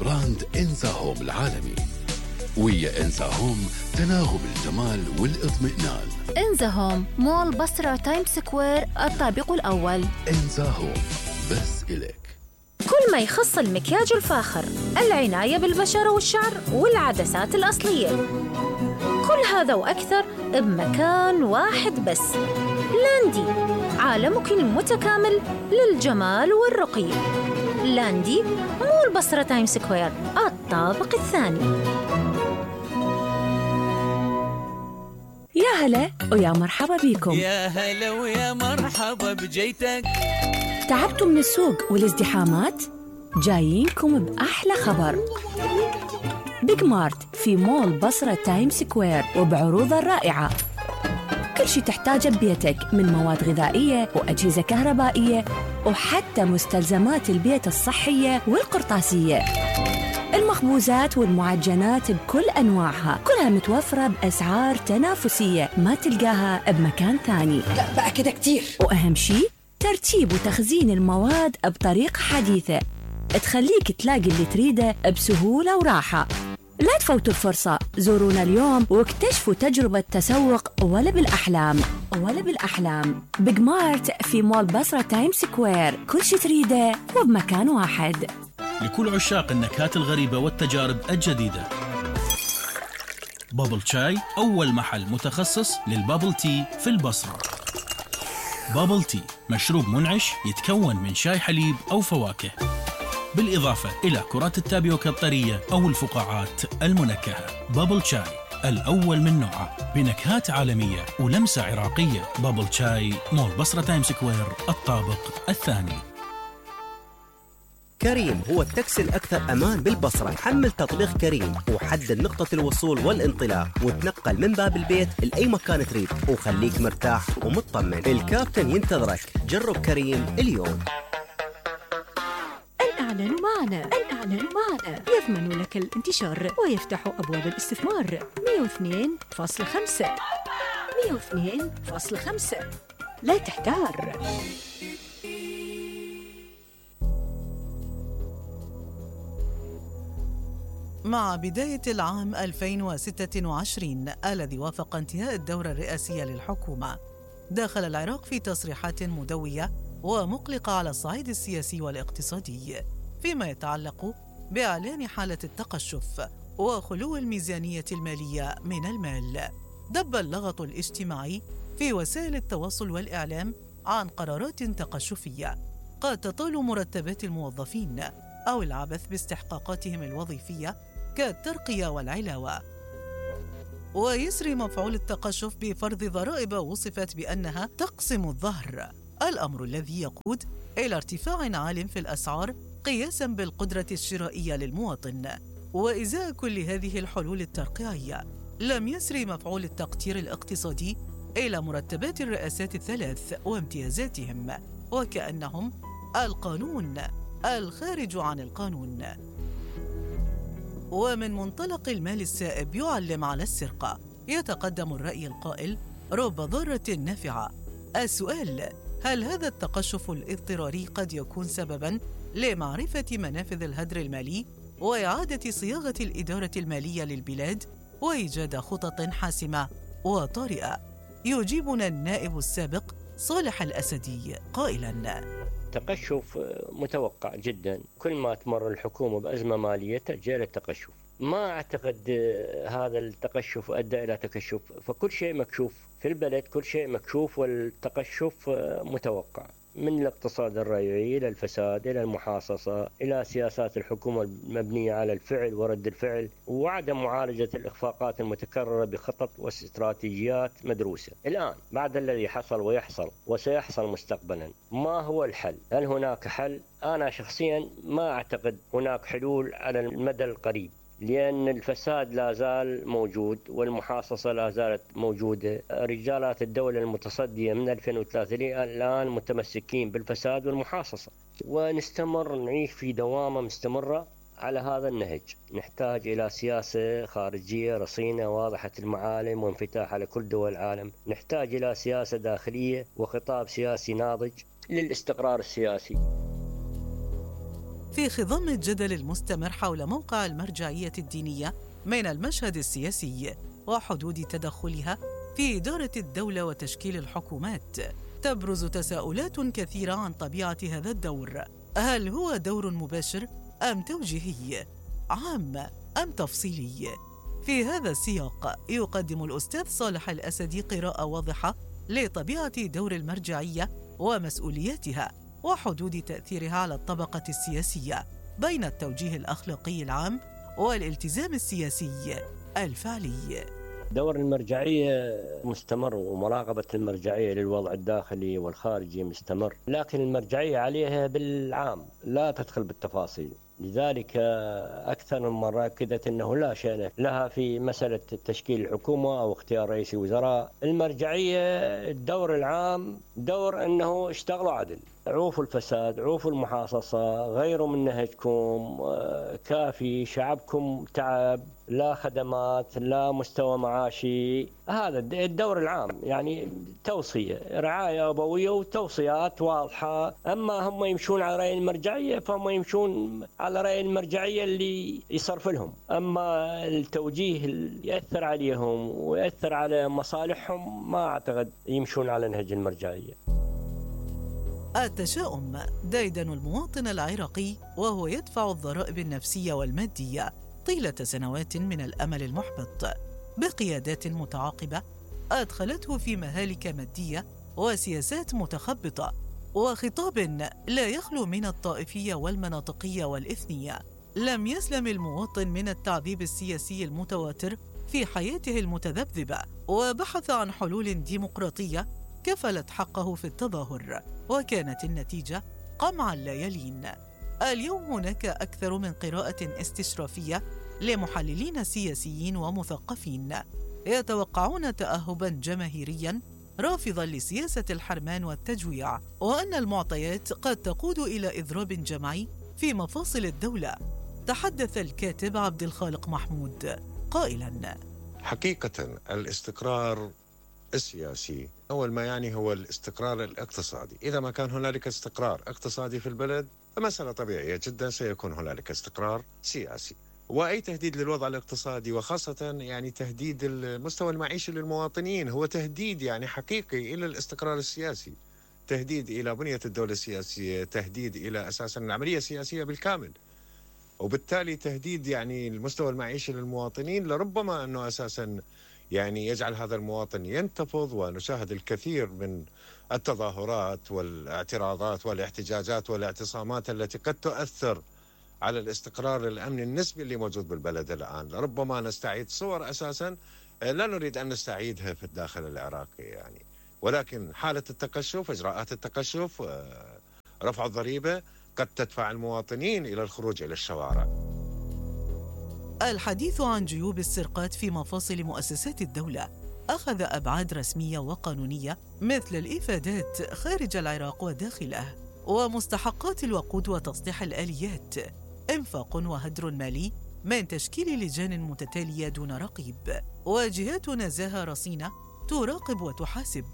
براند إنزا هوم العالمي. ويا إنزا هوم تناغم الجمال والاطمئنان. إنزا هوم مول بصرة تايم سكوير الطابق الأول. إنزا هوم بس إليك. كل ما يخص المكياج الفاخر، العناية بالبشرة والشعر والعدسات الأصلية، كل هذا وأكثر بمكان واحد بس. لاندي، عالمك المتكامل للجمال والرقي. لاندي مول بصرة تايم سكوير الطابق الثاني. يا هلا ويا مرحبا بيكم. يا هلا ويا مرحبا بجيتك. تعبتوا من السوق والازدحامات؟ جايينكم بأحلى خبر. بيج مارت في مول بصرة تايم سكوير وبعروضه الرائعة. كل شي تحتاجه ببيتك من مواد غذائية وأجهزة كهربائية وحتى مستلزمات البيت الصحية والقرطاسية. المخبوزات والمعجنات بكل أنواعها كلها متوفرة بأسعار تنافسية ما تلقاها بمكان ثاني. لا بقى كده كتير. وأهم شي ترتيب وتخزين المواد بطريقة حديثة تخليك تلاقي اللي تريده بسهولة وراحة. لا تفوتوا الفرصة، زورونا اليوم واكتشفوا تجربة تسوق ولا بالأحلام. بيج مارت في مول بصرة تايم سكوير، كل شي تريده وبمكان واحد. لكل عشاق النكهات الغريبة والتجارب الجديدة، بابل شاي أول محل متخصص للبابل تي في البصرة. بابل تي مشروب منعش يتكون من شاي حليب أو فواكه، بالإضافة إلى كرات التابيوكا الطرية أو الفقاعات المنكهة. بابل شاي الأول من نوعه بنكهات عالمية ولمسة عراقية. بابل شاي مول بصرة تايم سكوير الطابق الثاني. كريم هو التاكسي الأكثر أمان بالبصرة. حمل تطبيق كريم وحدد نقطة الوصول والانطلاق وتنقل من باب البيت لأي مكان تريد وخليك مرتاح ومطمن. الكابتن ينتظرك. جرب كريم اليوم. الإعلان معنا يضمن لك الانتشار ويفتح أبواب الاستثمار. 102.5 لا تحتار. مع بداية العام 2026 الذي وافق انتهاء الدورة الرئاسية للحكومة، دخل العراق في تصريحات مدوية ومقلقة على الصعيد السياسي والاقتصادي فيما يتعلق بإعلان حالة التقشف وخلو الميزانية المالية من المال. دب اللغط الاجتماعي في وسائل التواصل والإعلام عن قرارات تقشفية قد تطال مرتبات الموظفين أو العبث باستحقاقاتهم الوظيفية كالترقية والعلاوة. ويسري مفعول التقشف بفرض ضرائب وصفت بأنها تقسم الظهر، الأمر الذي يقود إلى ارتفاع عال في الأسعار قياساً بالقدرة الشرائية للمواطن. وإزاء كل هذه الحلول الترقيعية، لم يسري مفعول التقتير الاقتصادي إلى مرتبات الرئاسات الثلاث وامتيازاتهم، وكأنهم القانون الخارج عن القانون. ومن منطلق المال السائب يعلم على السرقة، يتقدم الرأي القائل رب ضارة نافعة. السؤال: هل هذا التقشف الاضطراري قد يكون سبباً لمعرفة منافذ الهدر المالي وإعادة صياغة الإدارة المالية للبلاد وإيجاد خطط حاسمة وطارئة؟ يجيبنا النائب السابق صالح الأسدي قائلاً: تقشف متوقع جدا. كل ما تمر الحكومة بأزمة مالية تأجيل التقشف. ما أعتقد هذا التقشف أدى إلى تقشف، فكل شيء مكشوف في البلد، كل شيء مكشوف، والتقشف متوقع، من الاقتصاد الريعي إلى الفساد إلى المحاصصة إلى سياسات الحكومة المبنية على الفعل ورد الفعل وعدم معالجة الإخفاقات المتكررة بخطط واستراتيجيات مدروسة. الآن بعد الذي حصل ويحصل وسيحصل مستقبلا، ما هو الحل؟ هل هناك حل؟ أنا شخصيا ما أعتقد هناك حلول على المدى القريب، لأن الفساد لا زال موجود والمحاصصة لا زالت موجودة. رجالات الدولة المتصدية من 2003 الآن متمسكين بالفساد والمحاصصة، ونستمر نعيش في دوامة مستمرة على هذا النهج. نحتاج إلى سياسة خارجية رصينة واضحة المعالم وانفتاح على كل دول العالم. نحتاج إلى سياسة داخلية وخطاب سياسي ناضج للاستقرار السياسي. في خضم الجدل المستمر حول موقع المرجعية الدينية من المشهد السياسي وحدود تدخلها في إدارة الدولة وتشكيل الحكومات، تبرز تساؤلات كثيرة عن طبيعة هذا الدور. هل هو دور مباشر أم توجيهي؟ عام أم تفصيلي؟ في هذا السياق يقدم الأستاذ صالح الأسدي قراءة واضحة لطبيعة دور المرجعية ومسؤولياتها وحدود تأثيرها على الطبقة السياسية بين التوجيه الأخلاقي العام والالتزام السياسي الفعلي. دور المرجعية مستمر، ومراقبة المرجعية للوضع الداخلي والخارجي مستمر، لكن المرجعية عليها بالعام لا تدخل بالتفاصيل. لذلك أكثر من مرة أكدت أنه لا شأن لها في مسألة تشكيل الحكومة أو اختيار رئيس وزراء. المرجعية الدور العام دور أنه اشتغلوا عدل، عوفوا الفساد، عوفوا المحاصصة، غيروا من نهجكم، كافي شعبكم تعب، لا خدمات، لا مستوى معاشي. هذا الدور العام، يعني توصية، رعاية أبوية وتوصيات واضحة. أما هم يمشون على رأي المرجعية فهم يمشون على رأي المرجعية اللي يصرف لهم، أما التوجيه اللي يأثر عليهم ويأثر على مصالحهم ما أعتقد يمشون على نهج المرجعية. التشاؤم ديدن المواطن العراقي وهو يدفع الضرائب النفسية والمادية طيلة سنوات من الأمل المحبط بقيادات متعاقبة أدخلته في مهالك مادية وسياسات متخبطة وخطاب لا يخلو من الطائفية والمناطقية والإثنية. لم يسلم المواطن من التعذيب السياسي المتواتر في حياته المتذبذبة، وبحث عن حلول ديمقراطية كفلت حقه في التظاهر، وكانت النتيجة قمع لا يلين. اليوم هناك أكثر من قراءة استشرافية لمحللين سياسيين ومثقفين يتوقعون تأهباً جماهيرياً رافضاً لسياسة الحرمان والتجويع، وأن المعطيات قد تقود إلى إضراب جمعي في مفاصل الدولة. تحدث الكاتب عبد الخالق محمود قائلاً: حقيقة الاستقرار السياسي أول ما يعني هو الاستقرار الاقتصادي. إذا ما كان هنالك استقرار اقتصادي في البلد فمسألة طبيعية جدا سيكون هنالك استقرار سياسي. وأي تهديد للوضع الاقتصادي وخاصة يعني تهديد المستوى المعيشي للمواطنين هو تهديد يعني حقيقي إلى الاستقرار السياسي، تهديد إلى بنية الدولة السياسية، تهديد إلى أساسا العملية السياسية بالكامل، وبالتالي تهديد يعني المستوى المعيشي للمواطنين لربما أنه أساسا يعني يجعل هذا المواطن ينتفض. ونشاهد الكثير من التظاهرات والاعتراضات والاحتجاجات والاعتصامات التي قد تؤثر على الاستقرار الأمني النسبي اللي موجود بالبلد الآن. ربما نستعيد صور أساسا لا نريد أن نستعيدها في الداخل العراقي يعني، ولكن حالة التقشف، إجراءات التقشف، رفع الضريبة قد تدفع المواطنين إلى الخروج إلى الشوارع. الحديث عن جيوب السرقات في مفاصل مؤسسات الدولة أخذ أبعاد رسمية وقانونية مثل الإفادات خارج العراق وداخله، ومستحقات الوقود وتصليح الآليات، إنفاق وهدر مالي من تشكيل لجان متتالية دون رقيب، وجهات نزاهة رصينة تراقب وتحاسب.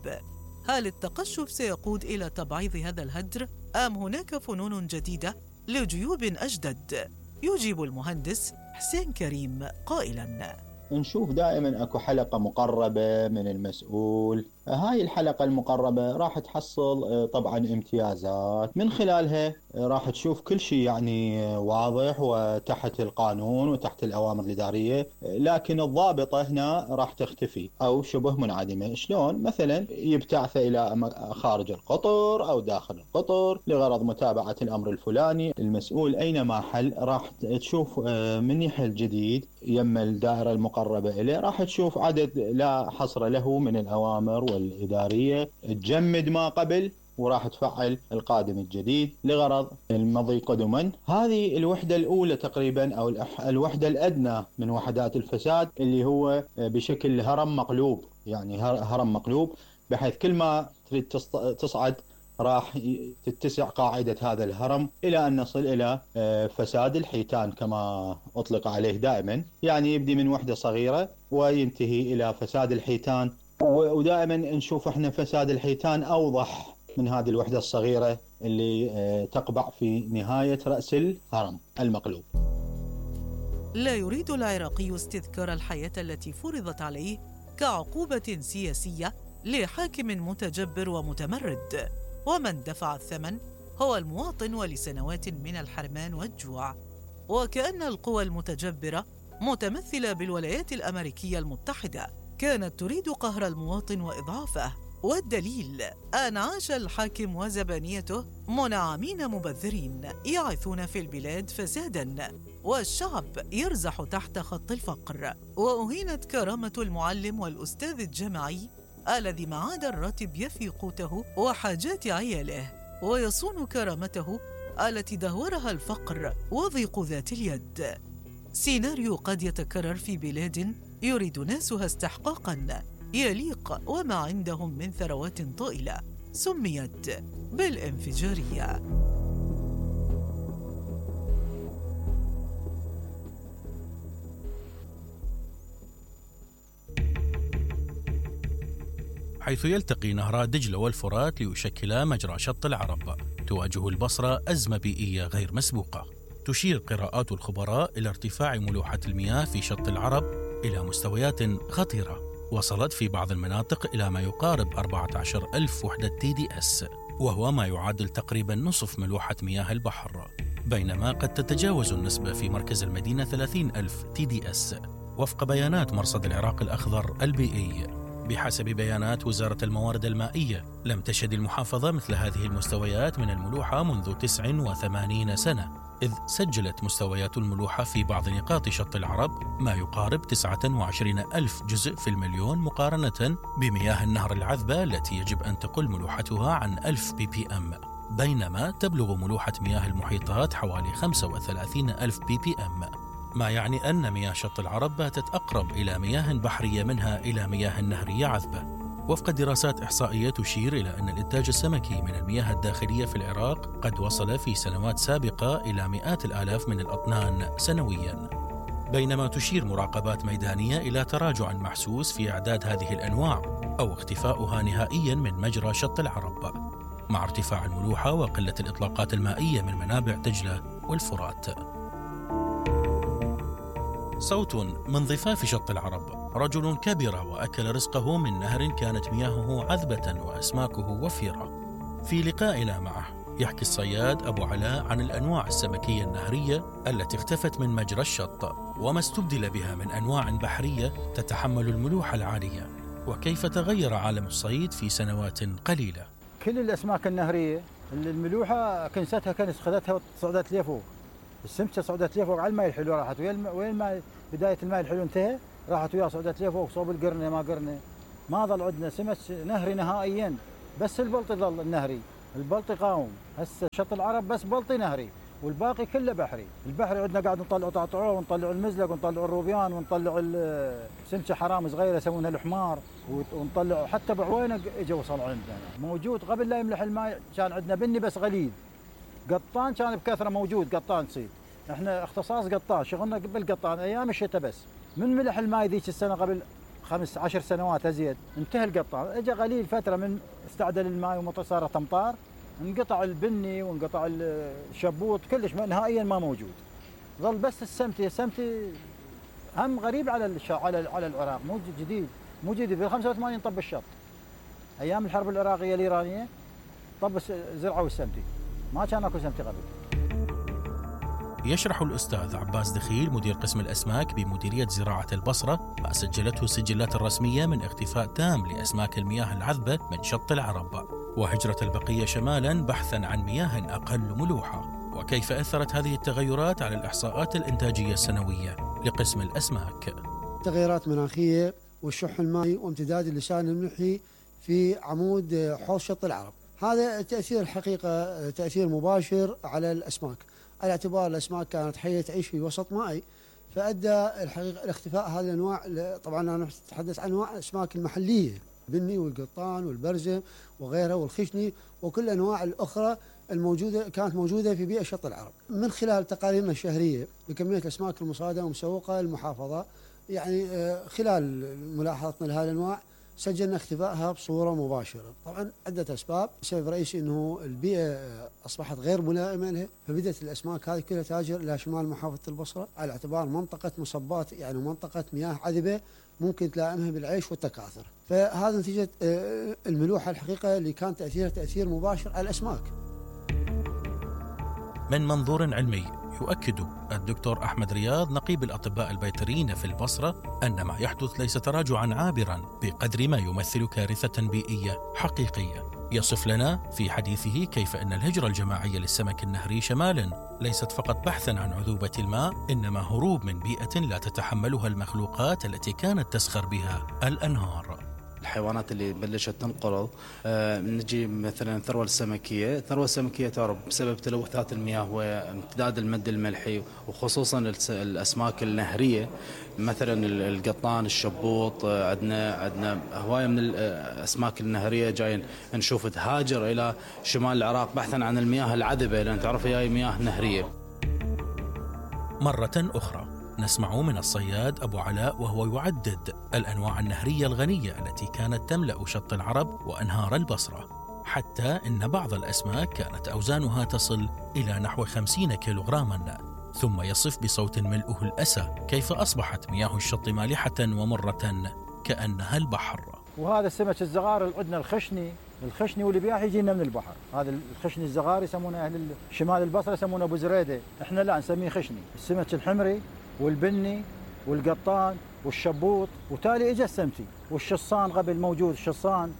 هل التقشف سيقود إلى تبعيض هذا الهدر أم هناك فنون جديدة لجيوب أجدد؟ يجيب المهندس حسين كريم قائلاً: نشوف دائما اكو حلقة مقربة من المسؤول. هاي الحلقة المقربة راح تحصل طبعا امتيازات، من خلالها راح تشوف كل شيء يعني واضح وتحت القانون وتحت الأوامر الإدارية، لكن الضابطة هنا راح تختفي أو شبه منعدمة. شلون؟ مثلا يبتعث إلى خارج القطر أو داخل القطر لغرض متابعة الأمر الفلاني. المسؤول أينما حل راح تشوف من يحل جديد يما الدائرة المقربة إليه راح تشوف عدد لا حصر له من الأوامر والإدارية تجمد ما قبل وراح تفعل القادم الجديد لغرض المضي قدما. هذه الوحدة الأولى تقريبا أو الوحدة الأدنى من وحدات الفساد، اللي هو بشكل هرم مقلوب، يعني هرم مقلوب بحيث كل ما تريد تصعد راح تتسع قاعدة هذا الهرم إلى أن نصل إلى فساد الحيتان كما أطلق عليه دائما، يعني يبدي من وحدة صغيرة وينتهي إلى فساد الحيتان. ودائما نشوف احنا فساد الحيتان أوضح من هذه الوحدة الصغيرة اللي تقبع في نهاية رأس الهرم المقلوب. لا يريد العراقي استذكار الحياة التي فرضت عليه كعقوبة سياسية لحاكم متجبر ومتمرد، ومن دفع الثمن هو المواطن ولسنوات من الحرمان والجوع. وكأن القوى المتجبرة متمثلة بالولايات الأمريكية المتحدة كانت تريد قهر المواطن وإضعافه، والدليل أن عاش الحاكم وزبانيته منعمين مبذرين يعيثون في البلاد فساداً، والشعب يرزح تحت خط الفقر، وأهينت كرامة المعلم والأستاذ الجامعي الذي ما عاد الراتب يفي قوته وحاجات عياله، ويصون كرامته التي دهورها الفقر وضيق ذات اليد. سيناريو قد يتكرر في بلاد يريد ناسها استحقاقاً يليق وما عندهم من ثروات طائلة سميت بالانفجارية. حيث يلتقي نهرا دجلة والفرات ليشكلا مجرى شط العرب، تواجه البصرة أزمة بيئية غير مسبوقة. تشير قراءات الخبراء إلى ارتفاع ملوحة المياه في شط العرب إلى مستويات خطيرة، وصلت في بعض المناطق إلى ما يقارب 14,000 وحدة TDS، وهو ما يعادل تقريبا نصف ملوحة مياه البحر، بينما قد تتجاوز النسبة في مركز المدينة 30,000 TDS وفق بيانات مرصد العراق الأخضر البيئي. بحسب بيانات وزارة الموارد المائية، لم تشهد المحافظة مثل هذه المستويات من الملوحة منذ 89 سنة، إذ سجلت مستويات الملوحة في بعض نقاط شط العرب ما يقارب 29,000 جزء في المليون، مقارنة بمياه النهر العذبة التي يجب أن تقل ملوحتها عن 1000 ppm، بينما تبلغ ملوحة مياه المحيطات حوالي 35,000 ppm، ما يعني أن مياه شط العرب باتت أقرب إلى مياه بحرية منها إلى مياه نهرية عذبة. وفق دراسات إحصائية تشير إلى أن الإنتاج السمكي من المياه الداخلية في العراق قد وصل في سنوات سابقة إلى مئات الآلاف من الأطنان سنوياً، بينما تشير مراقبات ميدانية إلى تراجع محسوس في أعداد هذه الأنواع أو اختفاؤها نهائياً من مجرى شط العرب، مع ارتفاع الملوحة وقلة الإطلاقات المائية من منابع دجلة والفرات. صوت من ضفاف شط العرب. رجل كبر وأكل رزقه من نهر كانت مياهه عذبة وأسماكه وفيرة. في لقائنا معه يحكي الصياد أبو علاء عن الأنواع السمكية النهرية التي اختفت من مجرى الشط وما استبدل بها من أنواع بحرية تتحمل الملوحة العالية، وكيف تغير عالم الصيد في سنوات قليلة. كل الأسماك النهرية الملوحة كنستها كانت خذتها وصعدت لي فوق، السمكة صعدت لي فوق على الماء الحلو، راحت وين الماء بداية الماء الحلو انتهى راحت وياه صعدت لي فوق صوب القرنة ما قرنة، ما ظل عندنا سمك نهري نهائيا، بس البلطي ظل النهري، البلطي قاوم. هسه شط العرب بس بلطي نهري والباقي كله بحري. البحري عندنا قاعد نطلعوا طعطعوه ونطلعوا المزلق ونطلعوا الروبيان ونطلعوا السمكة حرام صغيرة يسمونها الحمار، ونطلعوا حتى بعوينه اجوا وصلوا عندنا. موجود قبل لا يملح الماء كان عندنا بني بس غليل، قطان كان بكثرة موجود، قطان صيد، احنا اختصاص قطان، شغلنا بالقطان ايام الشتاء بس. من ملح الماء ذيك السنة قبل 15 سنوات ازيد انتهى القطان، اجى قليل فترة من استعدل الماء ومطر صارت امطار، انقطع البني وانقطع الشبوط كلش نهائيا ما موجود. ظل بس السمتي هم غريب على العراق، مو جديد بال 85 طب الشط ايام الحرب العراقية الايرانية، طب زرعوا السمتي، ما كان اكو سمتي قبل. يشرح الأستاذ عباس دخيل مدير قسم الأسماك بمديرية زراعة البصرة ما سجلته السجلات الرسمية من اختفاء تام لأسماك المياه العذبة من شط العرب، وهجرة البقية شمالا بحثا عن مياه أقل ملوحة، وكيف أثرت هذه التغيرات على الإحصاءات الإنتاجية السنوية لقسم الأسماك. تغيرات مناخية والشح المائي وامتداد اللسان الملحي في عمود حوض شط العرب، هذا التأثير الحقيقة تأثير مباشر على الأسماك، على اعتبار الأسماك كانت حية تعيش في وسط مائي، فأدى الحقيقة لاختفاء هذه الأنواع. طبعا أنا أتحدث عن أنواع الأسماك المحلية، البني والقطان والبرزة وغيرها والخشني وكل الأنواع الأخرى الموجودة كانت موجودة في بيئة شط العرب. من خلال تقاريرنا الشهرية بكمية الأسماك المصادة ومسوقة للمحافظة، يعني خلال ملاحظتنا لهذه الأنواع سجلنا اختفائها بصورة مباشرة. طبعا عدة أسباب، سبب رئيسي أنه البيئة أصبحت غير ملائمة لها، فبدأت الأسماك هذه كلها تهاجر إلى شمال محافظة البصرة على اعتبار منطقة مصبات، يعني منطقة مياه عذبة ممكن تلائمها بالعيش والتكاثر. فهذا نتيجة الملوحة الحقيقة اللي كان تأثيرها تأثير مباشر على الأسماك. من منظور علمي يؤكد الدكتور أحمد رياض نقيب الأطباء البيطريين في البصرة أن ما يحدث ليس تراجعا عابرا بقدر ما يمثل كارثة بيئية حقيقية. يصف لنا في حديثه كيف أن الهجرة الجماعية للسمك النهري شمالا ليست فقط بحثا عن عذوبة الماء، إنما هروب من بيئة لا تتحملها المخلوقات التي كانت تسخر بها الأنهار. الحيوانات اللي بلشت تنقرض، نجي مثلا الثروة السمكية تهرب بسبب تلوثات المياه وامتداد المد الملحي، وخصوصا الأسماك النهرية مثلا القطان، الشبوط. عندنا هواية من الأسماك النهرية جايين نشوف تهاجر إلى شمال العراق بحثا عن المياه العذبة، لأن تعرف هي مياه نهرية. مرة أخرى نسمع من الصياد أبو علاء وهو يعدد الأنواع النهرية الغنية التي كانت تملأ شط العرب وأنهار البصرة، حتى إن بعض الأسماك كانت أوزانها تصل إلى نحو 50 كيلوغراما. ثم يصف بصوت ملؤه الأسى كيف أصبحت مياه الشط مالحة ومرة كأنها البحر. وهذا السمك الزغار اللي عندنا الخشني واللي بياح يجينا من البحر. هذا الخشني الزغار يسمونه أهل شمال البصرة يسمونه أبو زريدة، إحنا لا نسميه خشني. السمك الحمري والبني والقطان والشبوط، وتالي اجى السمتي والشصان قبل موجود. الشصان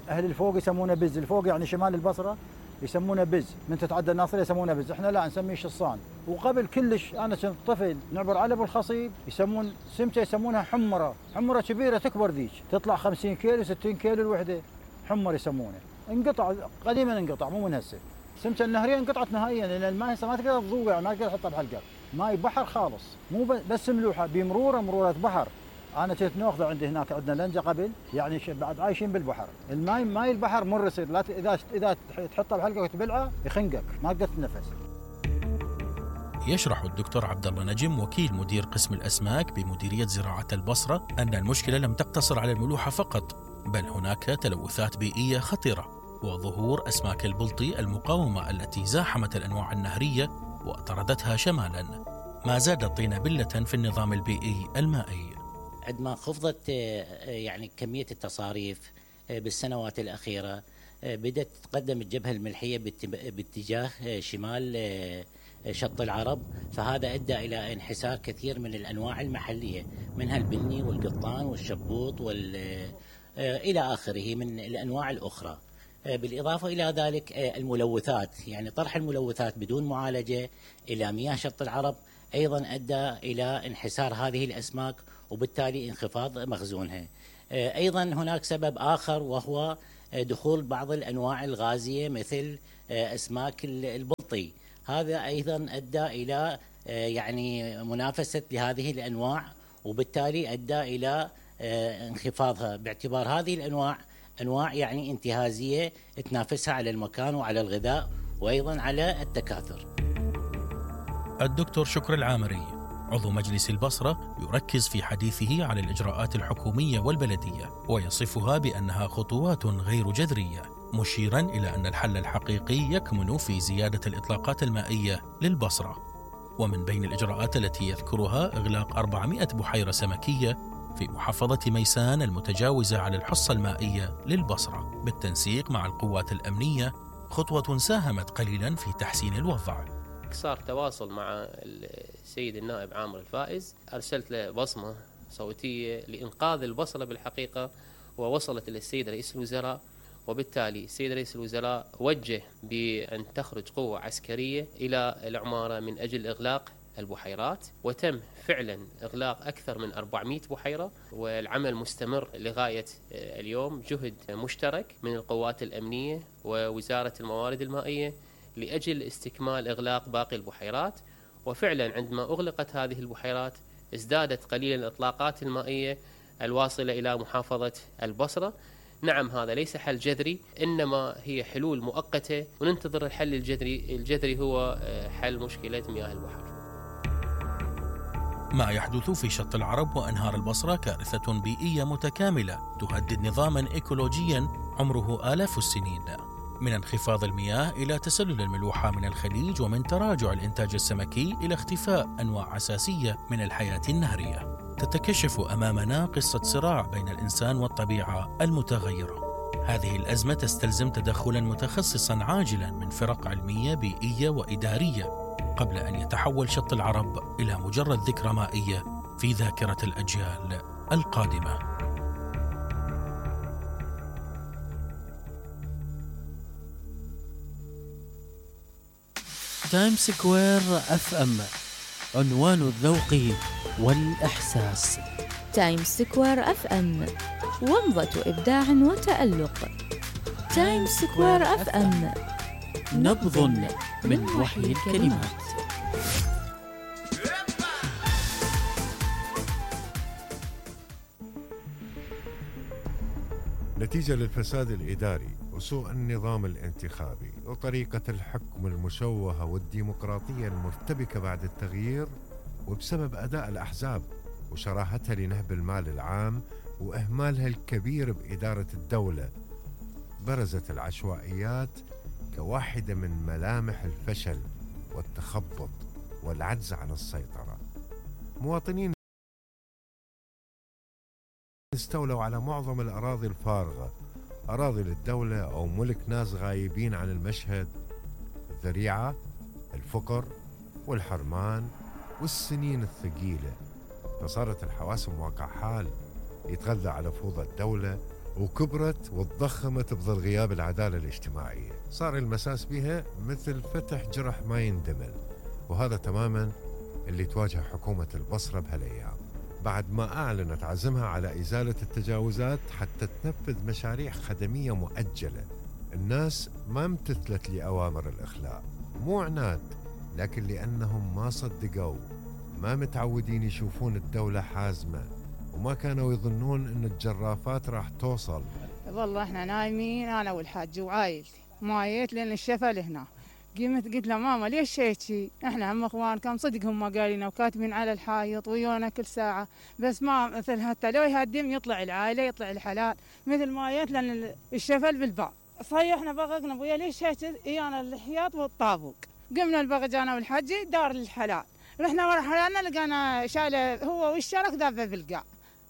اهل الفوق يسمونه بز، الفوق يعني شمال البصره يسمونه بز، من تتعدى الناصريه يسمونه بز، احنا لا نسميه شصان. وقبل كلش انا كنت طفل نعبر على ابو الخصيب يسمون سمته يسمونها حمره كبيره تكبر ذيك، تطلع 50 كيلو 60 كيلو الوحده، حمر يسمونه. انقطع قديما، انقطع مو من هسه. سمته النهريه انقطعت نهائيا لان الماء هسه ما تقدر تضوع، ما تقدر تحطها بحلقه. ماي بحر خالص، مو بس ملوحه، بمروره بحر. انا كنت ناخذه عندي هناك، عندنا لنجه قبل، يعني بعد عايشين بالبحر. ماي البحر مر يصير، لا اذا تحطها بحلقه وتبلعه يخنقك، ما تقدر تتنفس. يشرح الدكتور عبد الله نجم وكيل مدير قسم الأسماك بمديرية زراعة البصرة أن المشكلة لم تقتصر على الملوحة فقط، بل هناك تلوثات بيئية خطيرة، وظهور أسماك البلطي المقاومة التي زاحمت الأنواع النهرية وطردتها شمالا، ما زاد الطين بلة في النظام البيئي المائي. عندما خفضت يعني كمية التصاريف بالسنوات الأخيرة، بدأت تتقدم الجبهة الملحية باتجاه شمال شط العرب، فهذا أدى إلى انحسار كثير من الأنواع المحلية، منها البني والقطان والشبوط إلى آخره من الأنواع الأخرى. بالإضافة إلى ذلك الملوثات، يعني طرح الملوثات بدون معالجة إلى مياه شط العرب أيضا أدى إلى انحسار هذه الأسماك وبالتالي انخفاض مخزونها. أيضا هناك سبب آخر وهو دخول بعض الأنواع الغازية مثل أسماك البلطي، هذا أيضا أدى إلى يعني منافسة لهذه الأنواع وبالتالي أدى إلى انخفاضها، باعتبار هذه الأنواع أنواع يعني انتهازية تنافسها على المكان وعلى الغذاء وأيضا على التكاثر. الدكتور شكر العامري عضو مجلس البصرة يركز في حديثه على الإجراءات الحكومية والبلدية ويصفها بأنها خطوات غير جذرية، مشيرا إلى أن الحل الحقيقي يكمن في زيادة الإطلاقات المائية للبصرة. ومن بين الإجراءات التي يذكرها إغلاق 400 بحيرة سمكية في محافظة ميسان المتجاوزة على الحصة المائية للبصرة بالتنسيق مع القوات الأمنية، خطوة ساهمت قليلا في تحسين الوضع. صار تواصل مع السيد النائب عامر الفائز، أرسلت له بصمة صوتية لإنقاذ البصرة بالحقيقة، ووصلت للسيد رئيس الوزراء، وبالتالي السيد رئيس الوزراء وجه بأن تخرج قوة عسكرية إلى العمارة من أجل إغلاق البحيرات، وتم فعلا إغلاق أكثر من 400 بحيرة، والعمل مستمر لغاية اليوم. جهد مشترك من القوات الأمنية ووزارة الموارد المائية لأجل استكمال إغلاق باقي البحيرات، وفعلا عندما أغلقت هذه البحيرات ازدادت قليلا الإطلاقات المائية الواصلة إلى محافظة البصرة. نعم، هذا ليس حل جذري، إنما هي حلول مؤقتة، وننتظر الحل الجذري هو حل مشكلة مياه البحر. ما يحدث في شط العرب وأنهار البصرة كارثة بيئية متكاملة تهدد نظاما إيكولوجيا عمره آلاف السنين، من انخفاض المياه إلى تسلل الملوحة من الخليج، ومن تراجع الإنتاج السمكي إلى اختفاء أنواع أساسية من الحياة النهرية. تتكشف أمامنا قصة صراع بين الإنسان والطبيعة المتغيرة. هذه الأزمة تستلزم تدخلا متخصصا عاجلا من فرق علمية بيئية وإدارية قبل أن يتحول شط العرب إلى مجرد ذكرى مائية في ذاكرة الأجيال القادمة. تايم سكوير FM، عنوان الذوق والإحساس. تايم سكوير FM، ومضة إبداع وتألق. تايم سكوير FM، نبض من وحي الكلمات. نتيجة للفساد الإداري وسوء النظام الانتخابي وطريقة الحكم المشوهة والديمقراطية المرتبكة بعد التغيير، وبسبب أداء الأحزاب وشراهتها لنهب المال العام وإهمالها الكبير بإدارة الدولة، برزت العشوائيات كواحدة من ملامح الفشل والتخبط والعجز عن السيطرة. مواطنين استولوا على معظم الأراضي الفارغة، أراضي للدولة أو ملك ناس غايبين عن المشهد. الذريعة، الفقر والحرمان والسنين الثقيلة، فصارت الحواسم واقع حال يتغذى على فوضى الدولة، وكبرت وتضخمت بظل غياب العدالة الاجتماعية. صار المساس بها مثل فتح جرح ما يندمل، وهذا تماما اللي تواجه حكومة البصرة بهالأيام، بعد ما أعلنت عزمها على إزالة التجاوزات حتى تنفذ مشاريع خدمية مؤجلة. الناس ما امتثلت لأوامر الإخلاء، مو عناد، لكن لأنهم ما صدقوا، ما متعودين يشوفون الدولة حازمة، وما كانوا يظنون أن الجرافات راح توصل. والله احنا نايمين انا والحاج وعائلتي، ما جيت لان الشفل هنا. قلت له ماما ليش هيك؟ احنا هم اخوانكم صدق هم قالينا وكاتبين على الحائط ويونا كل ساعه، بس ما مثل حتى لو يهدم يطلع العائله يطلع الحلال، مثل ما جيت لان الشفل بالباب. صيحنا بغقنا ابويا ليش هيك؟ ايانا الحياط والطابوق. قمنا البغج انا والحجي دار الحلال، رحنا ورا حلالنا لقينا شايله هو والشرك ذابه بالقاع.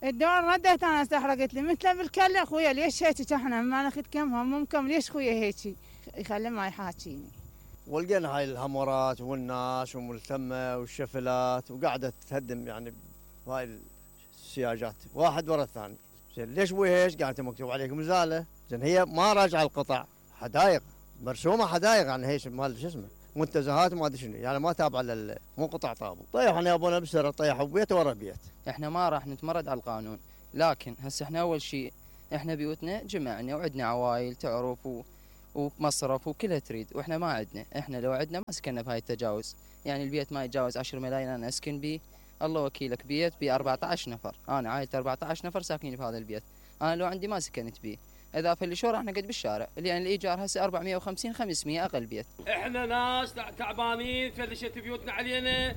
الدور رديت انا استحرقت لي مثله بالكله. اخويا ليش هيك؟ احنا ما ناخذ كم همكم ليش خويا هيك؟ يخلي ما يحاكيني. ولقينا هاي الهمورات والناس وملتمه والشفلات وقاعده تهدم يعني هاي السياجات واحد ورا الثاني. زين ليش ابوي هيك؟ قالت مكتوب عليكم ازاله. زين هي ما راجعه القطع، حدايق مرسومه، حدايق يعني هيك مال شو اسمه منتزهات ما ادري شنو، يعني ما تابعه مو قطع طابو. طيحنا يا ابونا بسره، طيحوا بيت ورا بيت. احنا ما راح نتمرد على القانون، لكن هسه احنا اول شيء احنا بيوتنا جمعنا وعندنا عوائل تعرف ومصرف وكلها تريد، واحنا ما عندنا. احنا لو عندنا ما سكننا بهاي التجاوز، يعني البيت ما يتجاوز 10 ملايين انا اسكن بيه. الله وكيلك بيت ب 14 نفر، انا عائلتي 14 نفر ساكنين بهذا البيت، انا لو عندي ما سكنت بيه. اضافه لشو راح نقعد بالشارع، يعني الايجار هسه 450 500 اقل بيت. احنا ناس تعبانين، فلشت بيوتنا علينا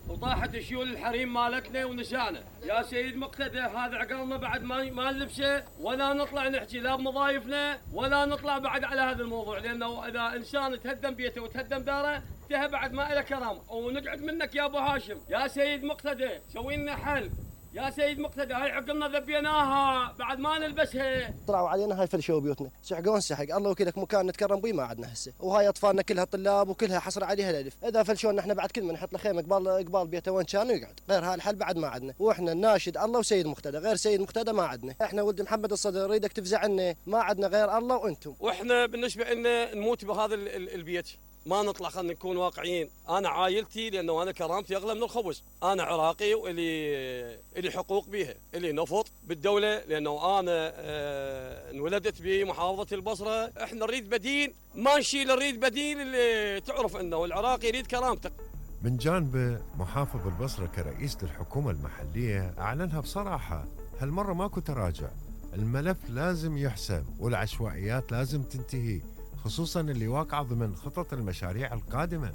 وطاحت شيول الحريم مالتنا ونسانا. يا سيد مقتدى هذا عقلنا بعد ما نلبسه ولا نطلع نحكي لا بمضايفنا ولا نطلع بعد على هذا الموضوع، لانه اذا انسان تهدم بيته وتهدم داره انتهى بعد ما له كرامه. ونقعد منك يا ابو هاشم يا سيد مقتدى سوي لنا حل. يا سيد مقتدى هاي عقلنا ذبيناها بعد ما نلبسها. طلعوا علينا هاي فلشوا بيوتنا، سحقون سحق. الله وكيلك مكان نتكرم بيه ما عندنا هسه، وهاي اطفالنا كلها طلاب وكلها حصر عليها الالف. اذا فلشونا احنا بعد كل من نحط له خيمه قبال بيته وين كان ويقعد، غير هاي الحل بعد ما عندنا. واحنا ناشد الله وسيد مقتدى، غير سيد مقتدى ما عندنا. احنا ولد محمد الصدر نريدك تفزع عنا، ما عندنا غير الله وانتم. واحنا بالنسبه لنا نموت بهذا البيت، ما نطلع. خلينا نكون واقعيين. انا عائلتي لانه انا كرامتي اغلى من الخبز، انا عراقي والي حقوق بيها، الي نفط بالدوله لانه انا انولدت بمحافظه البصره. احنا نريد بديل، ما نشيل، نريد بديل اللي تعرف انه العراقي يريد كرامته. من جانبه محافظ البصره كرئيس للحكومه المحليه اعلنها بصراحه، هالمره ماكو تراجع، الملف لازم يحسم والعشوائيات لازم تنتهي، خصوصا اللي واقعه ضمن خطط المشاريع القادمه.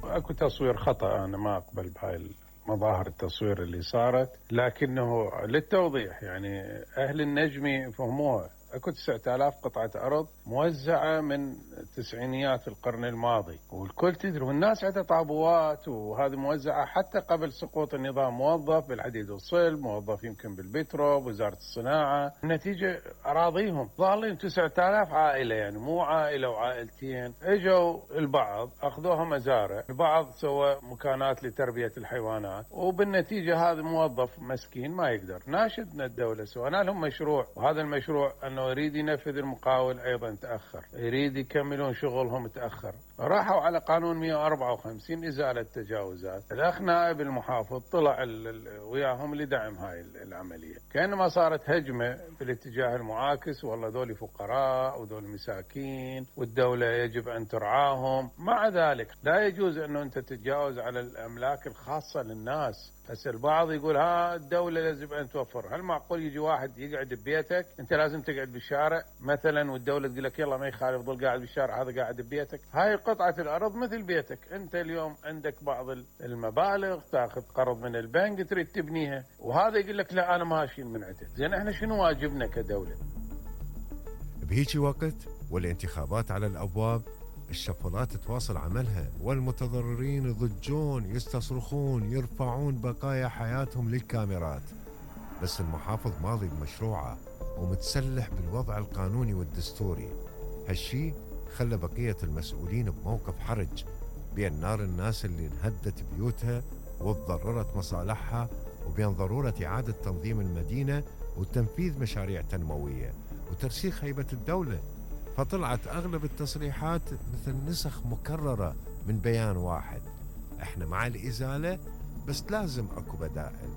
اكو تصوير خطا، انا ما اقبل بهاي مظاهر التصوير اللي صارت، لكنه للتوضيح يعني أهل النجمي فهموها. اكو 9000 قطعة أرض موزعة من تسعينيات القرن الماضي، والكل تدري، والناس عندها طابوات، وهذه موزعة حتى قبل سقوط النظام. موظف بالحديد والصلب، موظف يمكن بالبترو، بوزارة الصناعة. النتيجة أراضيهم ظالين 9000 عائلة، يعني مو عائلة وعائلتين. اجوا البعض أخذوها مزارع، البعض سوى مكانات لتربية الحيوانات، وبالنتيجة هذا موظف مسكين ما يقدر. ناشدنا الدولة، سوينا لهم مشروع، وهذا المشروع أنه يريد ينفذ المقاول أيضا تأخر، يريد يكملون شغلهم تأخر. راحوا على قانون 154 إزالة تجاوزات. الأخ نائب المحافظ طلع وياهم لدعم هاي العملية، كأنما صارت هجمة بالاتجاه المعاكس، والله ذولي فقراء وذول مساكين والدولة يجب أن ترعاهم. مع ذلك لا يجوز أنه أنت تتجاوز على الأملاك الخاصة للناس. بس البعض يقول الدولة لازم أن توفر. هل معقول يجي واحد يقعد ببيتك، أنت لازم تقعد بالشارع مثلا، والدولة تقول لك يلا ما يخالف ظل قاعد بالشارع، هذا قاعد ببيتك. هاي قطعة الأرض مثل بيتك. أنت اليوم عندك بعض المبالغ، تأخذ قرض من البنك تريد تبنيها، وهذا يقول لك لا أنا ما أشيل من عندك. زين احنا شنو واجبنا كدولة؟ بهيجي وقت والانتخابات على الأبواب، الشفرات تواصل عملها، والمتضررين يضجون، يستصرخون، يرفعون بقايا حياتهم للكاميرات. بس المحافظ ماضي بمشروعه ومتسلح بالوضع القانوني والدستوري. هالشي خلى بقية المسؤولين بموقف حرج بين نار الناس اللي انهدت بيوتها وتضررت مصالحها، وبين ضرورة إعادة تنظيم المدينة وتنفيذ مشاريع تنموية وترسيخ هيبة الدولة. فطلعت أغلب التصريحات مثل نسخ مكررة من بيان واحد: احنا مع الإزالة بس لازم أكو بدائل.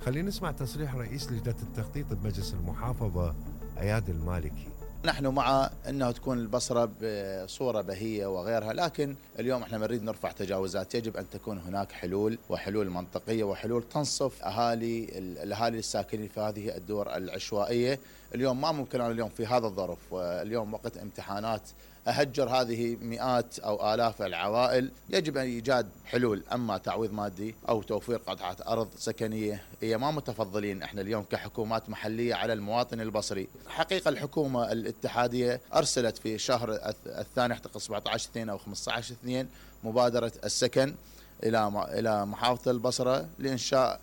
خلينا نسمع تصريح رئيس لجنة التخطيط بمجلس المحافظة أياد المالكي. نحن مع أنه تكون البصرة بصورة بهية وغيرها، لكن اليوم احنا نريد نرفع تجاوزات. يجب أن تكون هناك حلول، وحلول منطقية، وحلول تنصف الأهالي الساكنين في هذه الدور العشوائية. اليوم ما ممكن أنا اليوم في هذا الظرف، واليوم وقت امتحانات، أهجر هذه مئات أو آلاف العوائل. يجب أن إيجاد حلول، أما تعويض مادي أو توفير قطعة أرض سكنية. هي ما متفضلين احنا اليوم كحكومات محلية على المواطن البصري. حقيقة الحكومة الاتحادية أرسلت في شهر الثاني اعتقد 17/2 أو 15/2 مبادرة السكن إلى محافظة البصرة لإنشاء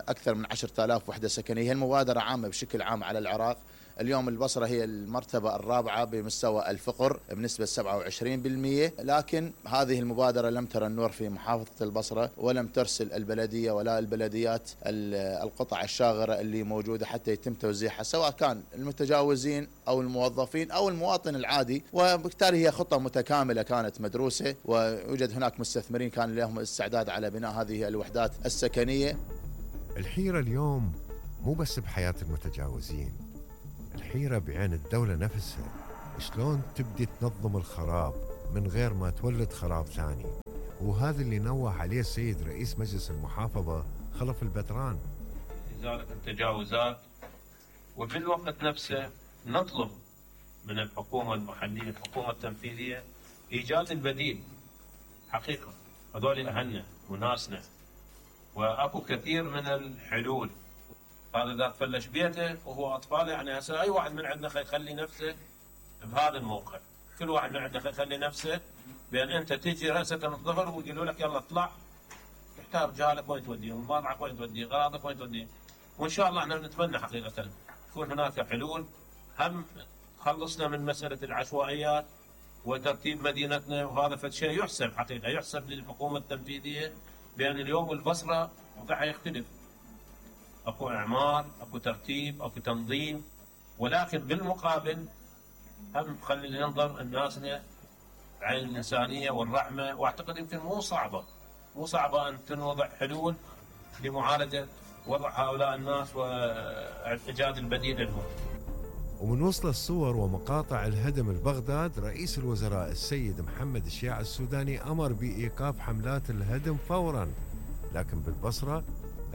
أكثر من 10,000 وحدة سكنية. المبادرة عامة بشكل عام على العراق. اليوم البصرة هي المرتبة الرابعة بمستوى الفقر بنسبة 27%، لكن هذه المبادرة لم ترى النور في محافظة البصرة، ولم ترسل البلدية ولا البلديات القطع الشاغرة اللي موجودة حتى يتم توزيعها، سواء كان المتجاوزين أو الموظفين أو المواطن العادي. وبالتالي هي خطة متكاملة كانت مدروسة، ويوجد هناك مستثمرين كان لهم استعداد على بناء هذه الوحدات السكنية. الحيرة اليوم مو بس بحياة المتجاوزين، الحيرة بعين الدولة نفسها. شلون تبدي تنظم الخراب من غير ما تولد خراب ثاني؟ وهذا اللي نوه عليه السيد رئيس مجلس المحافظة خلف البدران. إزالة التجاوزات، وبالوقت نفسه نطلب من الحكومة المحلية، الحكومة التنفيذية، إيجاد البديل. حقيقة هذول أهلنا وناسنا، وأكو كثير من الحلول. هذا إذا تفلش بيته وهو أطفال، يعني هسه أي واحد من عندنا يخلي نفسه بهذا الموقع. كل واحد من عندنا يخلي نفسه بأن أنت تجي رأسك من الظهر ويقولوا لك يلا اطلع، تحتاج رجالك وين توديهم، مطعمك وين توديه، غراضك وين توديه. وإن شاء الله احنا نتمنى حقيقة تكون هناك حلول. هم خلصنا من مسألة العشوائيات وترتيب مدينتنا، وهذا فد شيء يحسب حقيقة، يحسب للحكومة التنفيذية بأن اليوم البصرة وضعها يختلف. اكو اعمار، اكو ترتيب، اكو تنظيم، ولكن بالمقابل هم خلي ننظر الناسنا بعين الانسانيه والرحمه. واعتقد يمكن مو صعبه ان تنوضع حلول لمعالجه وضع هؤلاء الناس وايجاد البديل لهم. ومن وصل الصور ومقاطع الهدم ببغداد، رئيس الوزراء السيد محمد الشيع السوداني امر بايقاف حملات الهدم فورا. لكن بالبصره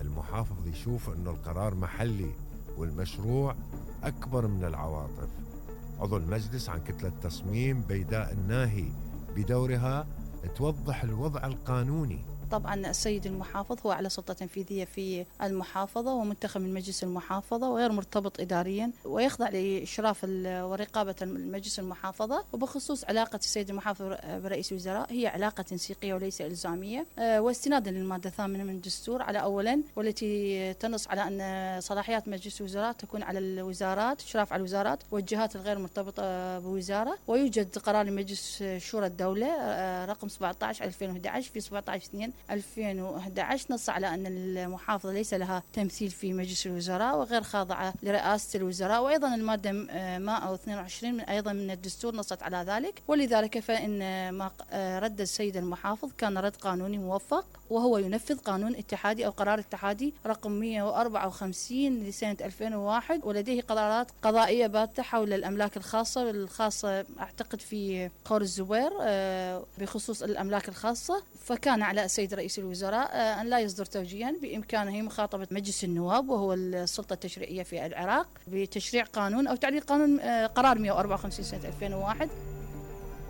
المحافظ يشوف أنه القرار محلي والمشروع أكبر من العواطف. عضو المجلس عن كتلة تصميم بيداء الناهي بدورها توضح الوضع القانوني. طبعا السيد المحافظ هو على سلطة تنفيذية في المحافظة ومنتخب من مجلس المحافظة وغير مرتبط إداريا ويخضع لإشراف ورقابة المجلس المحافظة. وبخصوص علاقة السيد المحافظ برئيس الوزراء هي علاقة تنسيقية وليس إلزامية، واستنادا للمادة 8 من الدستور على أولا، والتي تنص على أن صلاحيات مجلس الوزراء تكون على الوزارات، إشراف على الوزارات والجهات الغير مرتبطة بوزارة. ويوجد قرار لمجلس شورى الدولة رقم 17/2011 في 17/2/2011 نص على أن المحافظة ليس لها تمثيل في مجلس الوزراء وغير خاضعة لرئاسة الوزراء. وأيضا المادة 122 أيضا من الدستور نصت على ذلك. ولذلك فإن ما رد السيد المحافظ كان رد قانوني موفق، وهو ينفذ قانون اتحادي أو قرار اتحادي رقم 154 لسنة 2001. ولديه قرارات قضائية باتة حول الأملاك الخاصة أعتقد في قور الزبير بخصوص الأملاك الخاصة. فكان على السيد رئيس الوزراء أن لا يصدر توجيها، بإمكانه مخاطبة مجلس النواب وهو السلطة التشريعية في العراق بتشريع قانون أو تعديل قانون قرار 154 سنة 2001.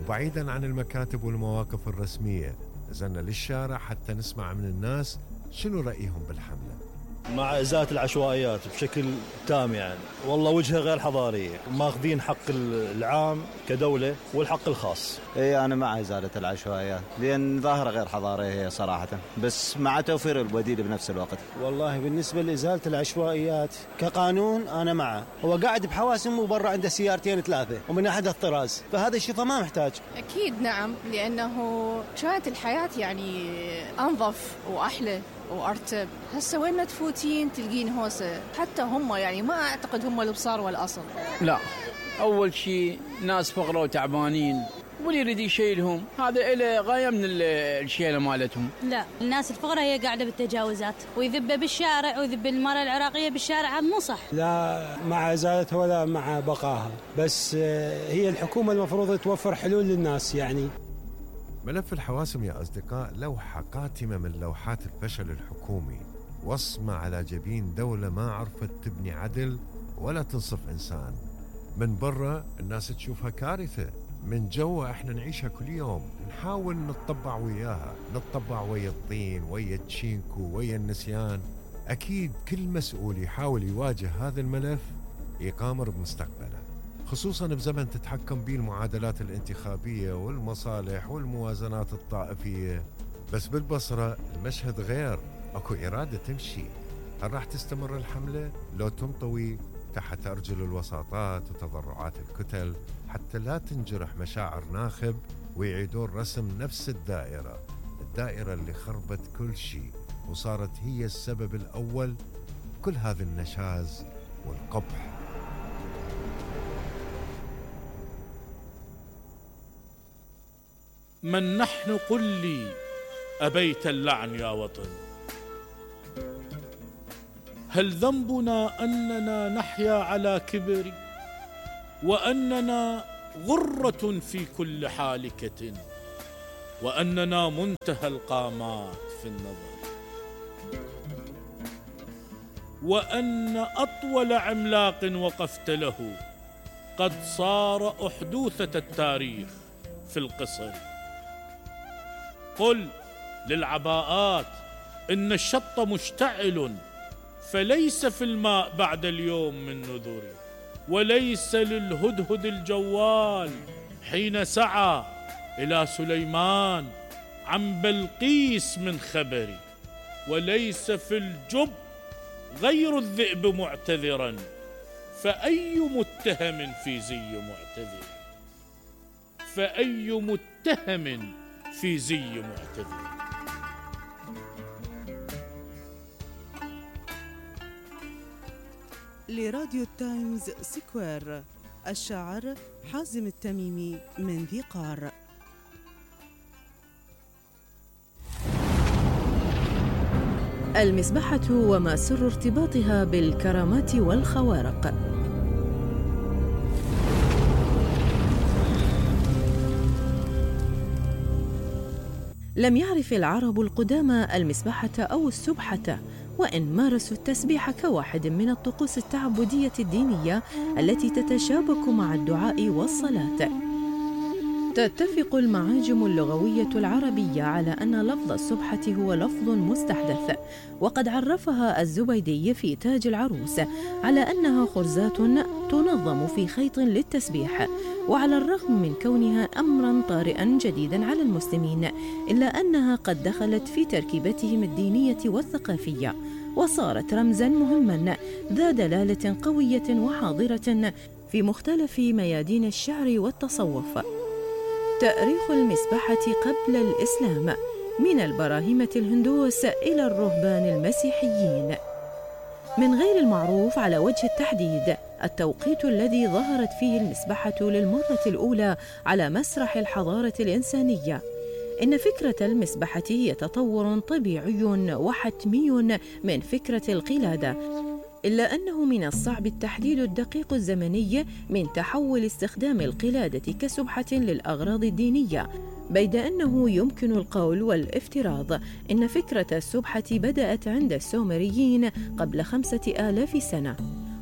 وبعيدا عن المكاتب والمواقف الرسمية نزلنا للشارع حتى نسمع من الناس شنو رأيهم بالحملة. مع إزالة العشوائيات بشكل تام، يعني والله وجهة غير حضارية، ماخذين حق العام كدولة والحق الخاص. اي انا مع إزالة العشوائيات لأن ظاهرة غير حضارية صراحة، بس مع توفير البديل بنفس الوقت. والله بالنسبة لإزالة العشوائيات كقانون أنا معه. هو قاعد بحواسم وبرا عنده سيارتين 3 ومن أحد الطراز، فهذا الشيء ما محتاج. أكيد نعم، لأنه كانت الحياة يعني أنظف وأحلى وأرتب. هسه وين ما تفوتين تلقين هوسة، حتى هم يعني ما أعتقد هم البصار والأصل. لا، أول شيء ناس فقراء وتعبانين واللي يريد يشيلهم هذا إله غاية من الشيلة مالتهم. لا، الناس الفقراء هي قاعدة بالتجاوزات ويذب بالشارع ويذب المرأة العراقية بالشارع، مو صح. لا مع إزالتها ولا مع بقاها، بس هي الحكومة المفروض توفر حلول للناس. يعني ملف الحواسم يا أصدقاء لوحة قاتمة من لوحات الفشل الحكومي، وصمة على جبين دولة ما عرفت تبني عدل ولا تنصف إنسان. من برا الناس تشوفها كارثة، من جوا احنا نعيشها كل يوم، نحاول نتطبع وياها، نتطبع ويا الطين ويا التشينكو ويا النسيان. أكيد كل مسؤول يحاول يواجه هذا الملف يقامر بمستقبله، خصوصاً بزمن تتحكم به المعادلات الانتخابية والمصالح والموازنات الطائفية. بس بالبصرة المشهد غير، أكو إرادة تمشي. هل راح تستمر الحملة لو تنطوي تحت أرجل الوساطات وتضرعات الكتل حتى لا تنجرح مشاعر ناخب ويعيدون رسم نفس الدائرة اللي خربت كل شيء وصارت هي السبب الأول كل هذا النشاز والقبح. من نحن قل لي أبيت اللعن يا وطن؟ هل ذنبنا أننا نحيا على كبر وأننا غرة في كل حالكة وأننا منتهى القامات في النظر وأن أطول عملاق وقفت له قد صار أحدوثة التاريخ في القصر؟ قل للعباءات إن الشط مشتعل فليس في الماء بعد اليوم من نذر، وليس للهدهد الجوال حين سعى إلى سليمان عن بلقيس من خبر، وليس في الجب غير الذئب معتذرا، فأي متهم في زي معتذر، فأي متهم في زي معتذر. لراديو تايمز سكوير، الشاعر حازم التميمي من ذي قار. المسبحة وما سر ارتباطها بالكرامات والخوارق. لم يعرف العرب القدامى المسبحة أو السبحة، وإن مارسوا التسبيح كواحد من الطقوس التعبدية الدينية التي تتشابك مع الدعاء والصلاة. تتفق المعاجم اللغوية العربية على أن لفظ السبحة هو لفظ مستحدث، وقد عرفها الزبيدي في تاج العروس على أنها خرزات تنظم في خيط للتسبيح. وعلى الرغم من كونها أمرا طارئا جديدا على المسلمين، إلا أنها قد دخلت في تركيبتهم الدينية والثقافية، وصارت رمزا مهما ذا دلالة قوية وحاضرة في مختلف ميادين الشعر والتصوف. تأريخ المسبحة قبل الإسلام، من البراهمة الهندوس إلى الرهبان المسيحيين. من غير المعروف على وجه التحديد التوقيت الذي ظهرت فيه المسبحة للمرة الأولى على مسرح الحضارة الإنسانية. إن فكرة المسبحة هي تطور طبيعي وحتمي من فكرة القلادة، إلا أنه من الصعب التحديد الدقيق الزمني من تحول استخدام القلادة كسبحة للأغراض الدينية، بيد أنه يمكن القول والافتراض إن فكرة السبحة بدأت عند السومريين قبل 5000 سنة،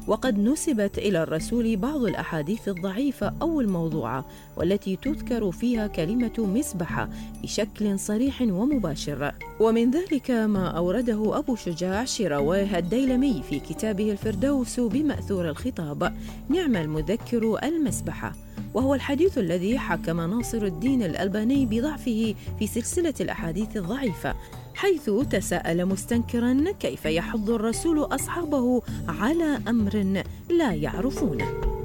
وقد نسبت إلى الرسول بعض الأحاديث الضعيفة أو الموضوعة والتي تذكر فيها كلمة مسبحة بشكل صريح ومباشر. ومن ذلك ما أورده أبو شجاع شيرواه الديلمي في كتابه الفردوس بمأثور الخطاب: نعم المذكر المسبحة، وهو الحديث الذي حكم ناصر الدين الألباني بضعفه في سلسلة الأحاديث الضعيفة، حيث تساءل مستنكرا كيف يحض الرسول أصحابه على أمر لا يعرفونه.